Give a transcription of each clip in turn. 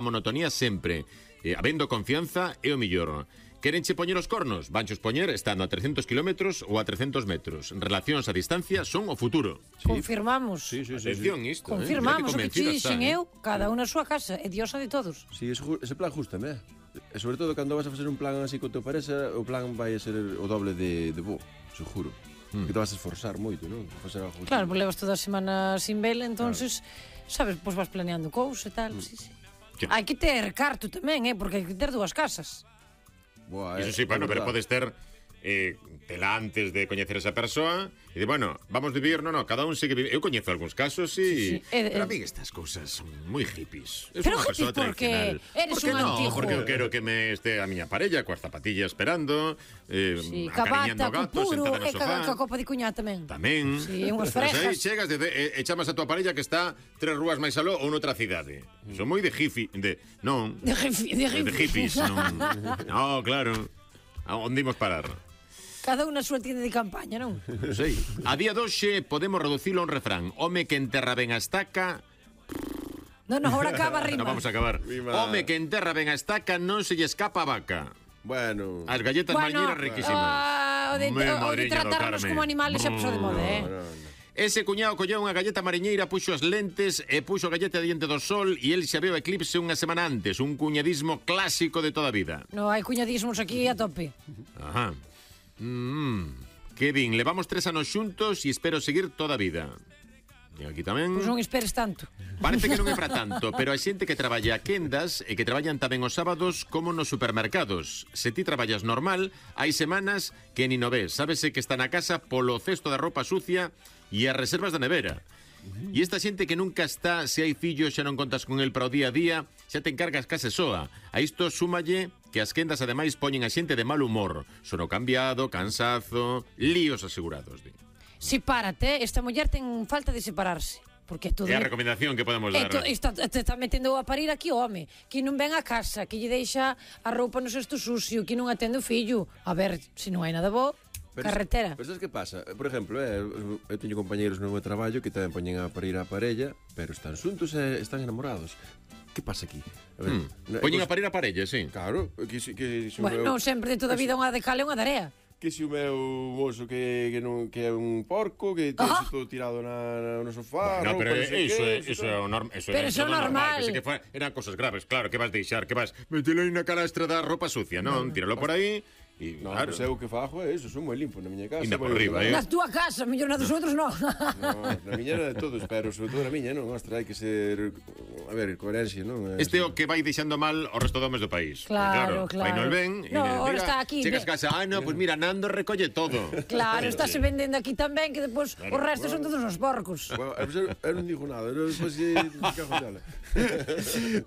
monotonía sempre, habendo confianza é o millor. Querenche poñer os cornos? Vanchos poñer estando a 300 kilómetros ou a 300 metros. Relacións a distancia son o futuro. Confirmamos. Sí. Atención isto, Confirmamos o que te dixen eu, cada unha a súa casa, é diosa de todos. Sí, ese plan gústame, E sobre todo cando vas a facer un plan así con teu parexa, o plan vai a ser o doble de bo, seguro. Que te vas a esforzar moito, non? Facer algo Claro, pues levas toda a semana sin vela, entonces, sabes, pues vas planeando cousas e tal, sí. Hai que ter carto tamén, porque hai que ter dúas casas. Buah, Iso sí, bueno, pero podes ter tela antes de coñecer esa persoa e de, bueno, vamos vivir, cada un sigue vivindo. Eu coñezo algúns casos e pero a mí estas cousas son moi hippies. Pero hippies porque eres un antigo. Porque eu quero que me este a miña parella coas zapatillas esperando, acariñando gatos, sentada no sofá. Ca copa de cuñá tamén. Tamén. Sí, unhas frejas. Aí chegas e chamas a tua parella que está 3 rúas máis aló ou noutra cidade. Son moi de hippie, de hippies, non. No, claro. Onde imos parar? Cada unha a súa tienda de campaña, non? Sei. A día doxe podemos reducilo a un refrán. Home que enterra ben a estaca... Non, ahora acaba a rima. Non vamos a acabar. Home que enterra ben a estaca non se lle escapa a vaca. Bueno. As galletas mañeiras riquísimas. O de tratarnos como animales xa pasou de moda, Ese cuñado colleu unha galleta mariñeira, puxo as lentes e puxo a galleta diante do sol e el xa veu o eclipse unha semana antes. Un cuñadismo clásico de toda a vida. No, hai cuñadismos aquí a tope. Ajá. Que bin, levamos 3 anos xuntos e espero seguir toda a vida. E aquí tamén... Pois non esperes tanto. Parece que non é para tanto, pero hai xente que traballa a quendas e que traballan tamén os sábados como nos supermercados. Se ti traballas normal, hai semanas que ni no ves. Sábese que está na casa polo cesto da roupa sucia e as reservas da nevera. E esta xente que nunca está, se hai fillos xa non contas con el para o día a día, xa te encargas case soa. A isto súmalle que as quendas ademais poñen a xente de mal humor. Sono cambiado, cansazo, líos asegurados. Sepárate, esta muller ten falta de separarse. Porque é a recomendación que podemos dar. Está metendo a parir aquí o home, que non ven a casa, que lle deixa a roupa no cesto sucio, que non atende o fillo. A ver, se non hai nada bo, carretera. Pero sabes que pasa? Por exemplo, eu teño compañeros no meu traballo que tamén poñen a parir a parella, pero están xuntos e están enamorados. Que pasa aquí? A ver, poñen a parir a parella, sí. Claro, bueno, non sempre de toda a vida unha de cal e unha de area. Que se o meu mozo que é un porco, que ten todo tirado no sofá. No, pero eso é normal. Pero eso é normal. Pensé que eran cosas graves, claro, que vas deixar, que vas metelo aí na canastra da roupa sucia, non? Tíralo por aí. No, claro. Pues eu que fajo é iso, son moi limpo na miña casa. Inda por riba, Na túa casa, mellor na dos outros non. Na miña era de todos, pero sobre todo na miña, non? Ostra, hai que ser, a ver, coherencia, non? Este é o que vai deixando mal o resto do homes do país. Claro. Vai no el ben, ahora está aquí. Chegas a casa, pues mira, Nando recolle todo. Claro, estáse vendendo aquí tamén, que depois o resto son todos os porcos. Eu non digo nada, despois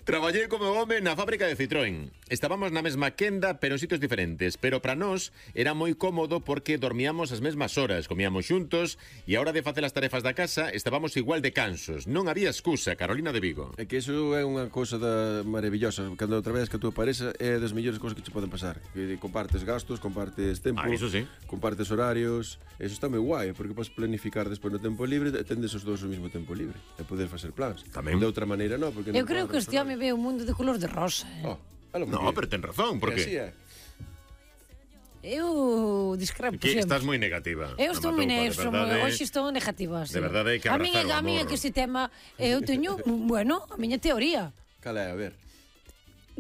Traballei como home na fábrica de Citroën. Estábamos na mesma quenda, pero en sitios diferentes, pero para nós era moi cómodo porque dormíamos as mesmas horas, comíamos xuntos e a hora de facer as tarefas da casa estábamos igual de cansos. Non había excusa, Carolina de Vigo. É que iso é unha cousa maravillosa. Cando traballas ca túa parexa é das mellores cousas que che poden pasar. Que compartes gastos, compartes tempo, iso sí. Compartes horarios. Eso está moi guai, porque podes planificar despois no tempo libre e tendes os dous o mesmo tempo libre e poder facer plans. Tamén. De outra maneira non, porque eu creo que este home ve o mundo de color de rosa. No, pero ten razón, porque así é. Eu discrepo sempre. Estás moi negativa. Eu estou moi negativa. Hoxe estou negativa. De verdade, hai que abrazar o amor. A miña que este tema, eu teño, bueno, a miña teoría. Cal é, a ver?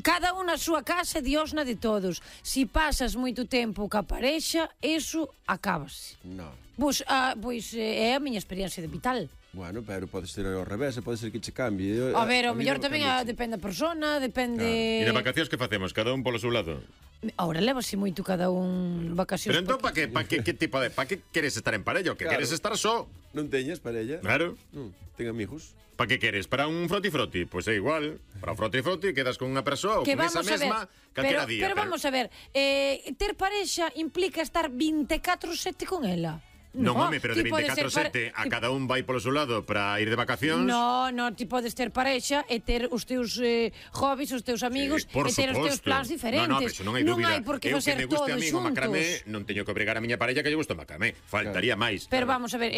Cada unha a súa casa, Dios na de todos. Si pasas moito tempo ca parexa, eso acábase. Non. Pois é a miña experiencia de vital. Bueno, pero pode ser ao revés, pode ser que che cambie. A ver, o mellor tamén depende da persona, depende... E na vacacións que facemos? Cada un polo seu lado? Ahora levase moito cada un vacacións. Pero entón, pa que tipo de... Pa que queres estar en parella? O que queres estar só? Non teñes parella? Claro. Ten amigos. Pa que queres? Para un froti-froti? Pois é igual. Para un froti-froti quedas con unha persoa ou con esa mesma calquera día. Pero vamos a ver, ter parexa implica estar 24/7 con ela. Non, home, pero de 24/7 a cada un vai polo seu lado para ir de vacacións. Non, ti podes ter parexa e ter os teus hobbies, os teus amigos, e ter os teus plans diferentes. Non, pero non hai dúbida. Non hai por que facer todo xuntos. Eu que me guste a mí o macramé, non teño que obrigar a miña parella que lle guste o macramé. Faltaría máis. Pero vamos a ver,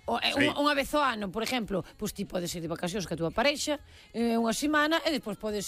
unha vez ao ano, por exemplo, pois ti podes ir de vacacións ca túa parexa unha semana e despois podes ir